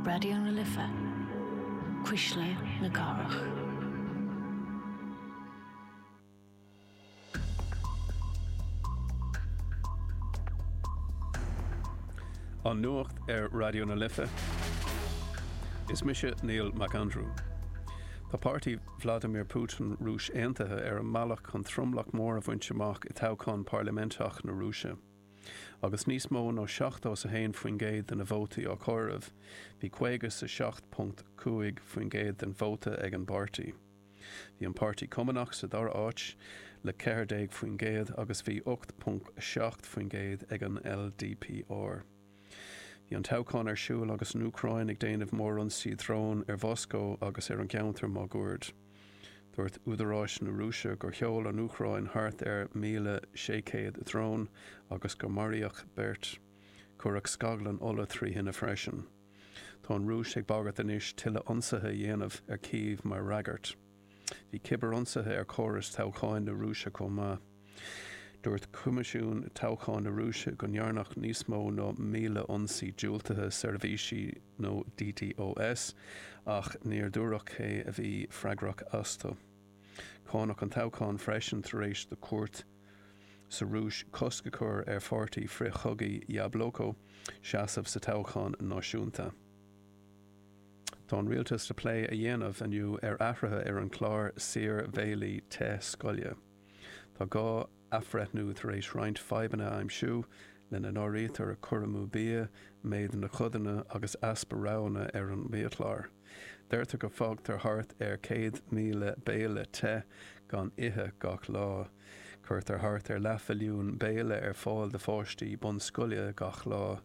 Raidió na Life, Cuisle na Cathrach. An Nuacht ar Raidió na Life. Is mise Neil McAndrew. Tá páirtí Vladimir Putin, Rúis Aontaithe, ar an mbealach chun tromlach mór a bhaint amach i toghchán parlaiminteach na Rúise. Agus níos mó ná 71% de na vótaí á comhaireamh, bhí 57.5% den vóta ag an bpáirtí. Bhí an Páirtí Cumannach sa dara háit le 14% agus bhí 8.7% ag an LDPR. Bhí an toghchán ar siúl agus an Úcráin ag déanamh mórionsaí drón ar Mhoscó agus ar an gceantar máguaird. Dúirt údaráis na Rúise gur sheol an Úcráin thart ar 1,600 drón agus gur maraíodh beirt. Cuireadh scaglann ola trí thine freisin. Tá an Rúis ag bagairt anois tuilleadh ionsaithe a dhéanamh ar Kyiv mar fhreagairt. Bhí cibirionsaithe ar chóras toghcháin na Rúise chomh maith. Dúirt Coimisiún Toghcháin na Rúise go ndearnadh níos mó ná 1,000 ionsaí diúltaithe seirbhísí nó DDoS ach níor dúradh cé a bhí freagrach astu. Cáineadh an toghchán freisin tar éis do chúirt sa Rúis cosc a chur ar pháirtí frith-chogaidh Yabloko seasamh sa toghchán náisiúnta. Tá an rialtas le plé a dhéanamh inniu ar athruithe ar an chlár saor-bhéilí te scoile. Tá gá athbhreithniú tar éis roinnt fadhbanna a aimsiú, lena n-áirítear cur amú bia, méid na gcodanna agus easpa roghanna ar an mbiachlár. Deirtear go bhfágtar thart ar 100,000 béile te gan ithe gach lá. Cuirtear thart ar leathmhilliún béile ar fáil do pháistí bunscoile gach lá.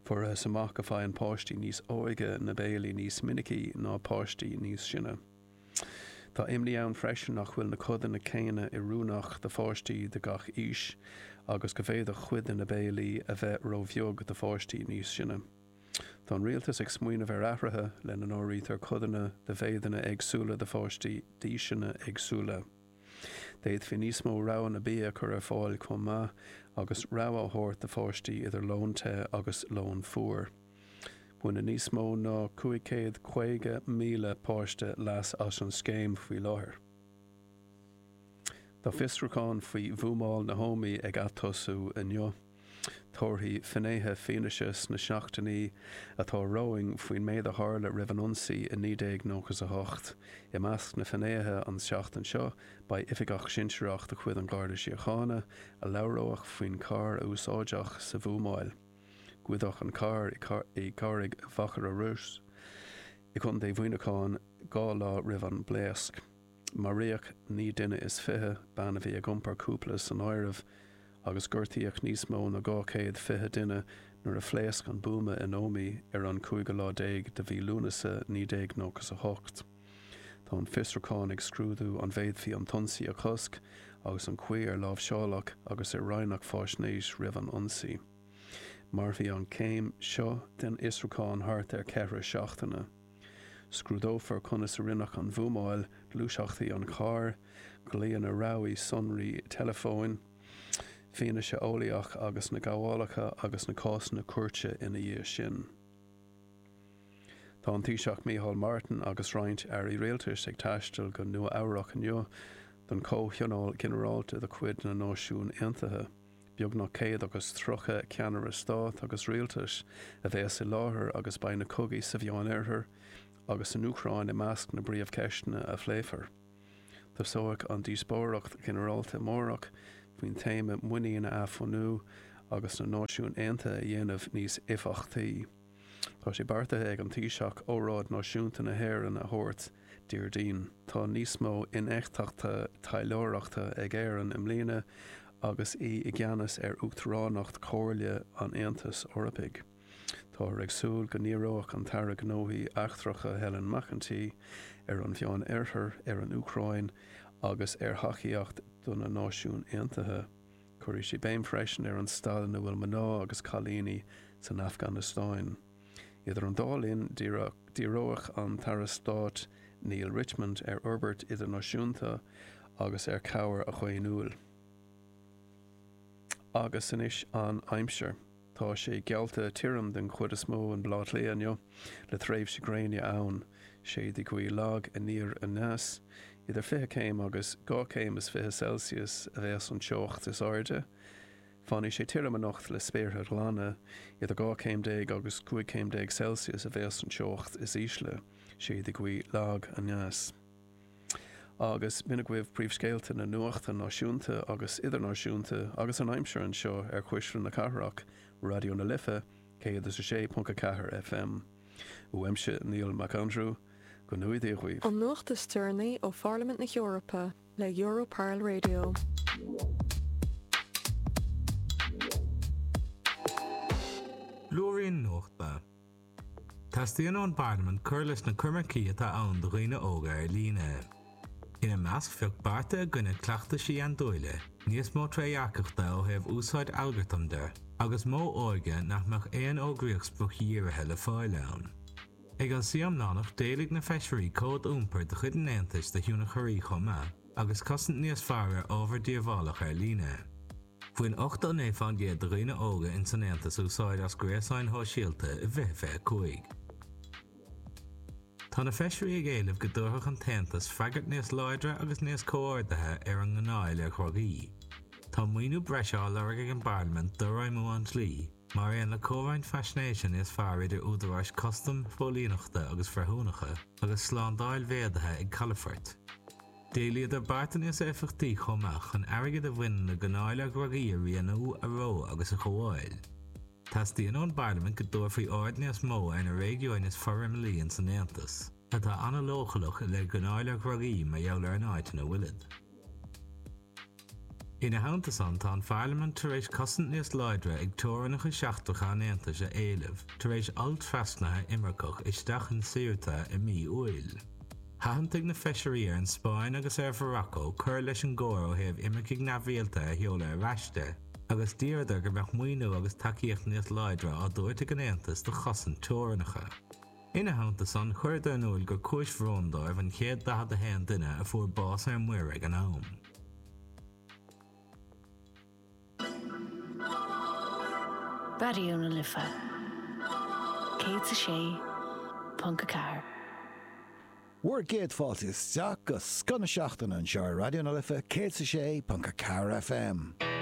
Fuarthas amach go faigheann páistí níos óige na béilí níos minicí ná páistí níos sine. Tá imní ann freisin nach bhfuil na codanna céanna oiriúnach do pháistí de gach aois agus go bhféadfadh cuid de na béilí a bheith róbheag do pháistí níos sine. Tá an rialtas ag smaoineamh ar athruithe, lena n-áirítear codanna de mhéideanna éagsúla do pháistí d'aoiseanna éagsúla. D'fhéadfaí níos mó roghanna bia a chur ar fáil chomh maith agus rogha a thabhairt do pháistí idir lón te agus lón fuar. Baineann níos mó ná 550,000 páiste leas as an scéim faoi láthair. Tá fiosrúchán faoi bhuamáil na hÓmaí ag atosú inniu. Tabharfaidh finnéithe fianaise sna seachtainí atá romhainn faoin méid a tharla roimh an ionsaí i 1998. I measc na bhfinnéithe an tseachtain seo beidh oifigeach sinsearach de chuid an Gharda Síochána a labhróidh faoin charr a úsáideadh sa bhuamáil. Goideadh an carr i gCarraig Mhachaire Rois i gContae Mhuineacháin 2 lá roimh an bpléasc. Maraíodh 29 duine, bean a bhí ag iompar cúpla san áireamh, agus gortaíodh níos mó ná 220 duine nuair a phléasc an buama in Ómaigh ar an cúigiú lá déag de mhí Lúnasa 1998. Tá an fiosrúchán ag scrúdú an bhféadfaí an t-ionsaí a chosc agus an chaoi ar láimhseáladh agus ar roinneadh faisnéis roimh an ionsaí. Mairfidh an chéim seo den fhiosrúchán thart ar cheithre seachtaine. Scrúdófar conas a rinneadh an bhuamáil, gluaiseachtaí an chairr, glaonna rabhaidh, sonraí teileafóin, fianaise eolaíoch agus na gabhálacha agus na cásanna cúirte ina dhiaidh sin. Tá an Taoiseach Micheál Martin agus roinnt airí rialtais ag taisteal go Nua Eabhrac inniu don Chomhthionól Ginearálta de chuid na Náisiún Aontaithe. Beagnach 130 ceannaire stáit agus rialtais a bheas i láthair agus beidh na cogaí sa Mheánoirthear agus san Úcráin i measc na bpríomhcheisteanna a phléifear. Tosóidh an díospóireacht ghinearálta amárach faoin téama 'Muinín a athbhunú agus na Náisiúin Aontaithe a dhéanamh níos éifeachtaí'. Tá sé beartaithe ag an Taoiseach óráid náisiúnta na hÉireann a thabhairt Déardaoin. Tá níos mó infheictheachta taidhleoireachta ag Éirinn i mbliana agus í i gceannas ar Uachtaránacht Chomhairle an Aontais Eorpaigh. Táthar ag súil go ndíreoidh an tAire Gnóthaí Eachtracha Helen McEntee ar an Mheánoirthear, ar an Úcráin agus ar thacaíocht do na Náisiúin Aontaithe. Cuirfidh sí béim freisin ar an staid ina bhfuil mná agus cailíní san Afganastáin. Idir an dá linn, díreoidh an tAire Stáit Neale Richmond ar fhorbairt idirnáisiúnta agus ar chabhair dhaonnúil. Agus anois an aimsir. Tá sé geallta tirim den chuid is mó in Baile Átha Cliath inniu, le tréimhse gréine ann. Séidfidh gaoth lag aniar aneas. Idir 20 céim agus 22 céim Celsius a bheas an teocht is airde. Fanfaidh sé tirim anocht le spéartha glana. Idir 12 céim agus 15 céim Celsius a bheas an teocht is ísle. Séidfidh gaoth lag aneas. Agus b'in agaibh príomhscéalta na nuachta náisiúnta agus idirnáisiúnta agus an aimsir anseo ar Chuisle na Cathrach, Raidió na Life, 106.4 FM. Uaimse Niall Mac Aindriú, go ngnóthaí Dia dhaoibh. An nuacht is deireanaí ó Pharlaimint na hEorpa le Europarl Radio. Blúirín Nuachta. Teastaíonn ón bParlaimint cur leis na coimircí atá ann do dhaoine óga ar líne. Ina measc bheadh bearta i gcoinne cleachtaisí andúile, níos mó trédhearcachta ó thaobh úsáid algartam de, agus modh óige nach mbeadh aon fhógraíocht spriocdhírithe le fáil ann. Ag an suí iomlánach d'éiligh na feisirí cód iompair de chuid an Aontais do thionchairí chomh maith, agus cosaint níos fearr ar ábhar díobhálach ar líne. Bhain 89% de dhaoine óga ins an Aontas úsáid as gréasáin shóisialta i 2025. Tá na feisirí ag éileamh go dtabharfadh an tAontas freagairt níos láidre agus níos comhordaithe ar an ngáinneáil ar dhrugaí. Tá maoiniú breise á lorg ag an bParlaimint d'fhorfheidhmiú an dlí, mar aon le comhroinnt faisnéise níos fearr idir údaráis custaim, phóilíneachta agus bhreithiúnacha, agus slándáil mhéadaithe ag calafoirt. D'éilíodar bearta níos éifeachtaí chomh maith chun airgead a bhaineann le gáinneáil ar dhrugaí a rianú, a reo agus a ghabháil. Teastaíonn ón bParlaimint go dtabharfaí aird níos mó ar na réigiúin is forimeallaí ins an Aontas, atá an-leochaileach i leith gáinneáil ar dhrugaí mar gheall ar an áit ina bhfuilid. Ina theannta san, tá an Pharlaimint tar éis cosaint níos láidre ag teorainneacha seachtracha an Aontais a éileamh tar éis olltrasnaithe imirceach isteach in Ceuta i mí Iúil. Thathantaigh na feisirí ar an Spáinn agus ar Mhorocco cur leis an gcomhar ó thaobh imircigh neamhrialta a sheoladh ar ais de, agus d'iarradar go mbeadh maoiniú agus tacaíocht níos láidre á dtabhairt ag an Aontas do chosaint teorainneacha. Ina theannta san, chuireadar in iúil gur cúis bhróin dóibh an 141 duine a fuair bás ar muir ag an am. Raidió na Life 106.4. Bhur gcéad fáilte isteach go scoth na seachtaine anseo ar Raidió na Life 106.4 FM.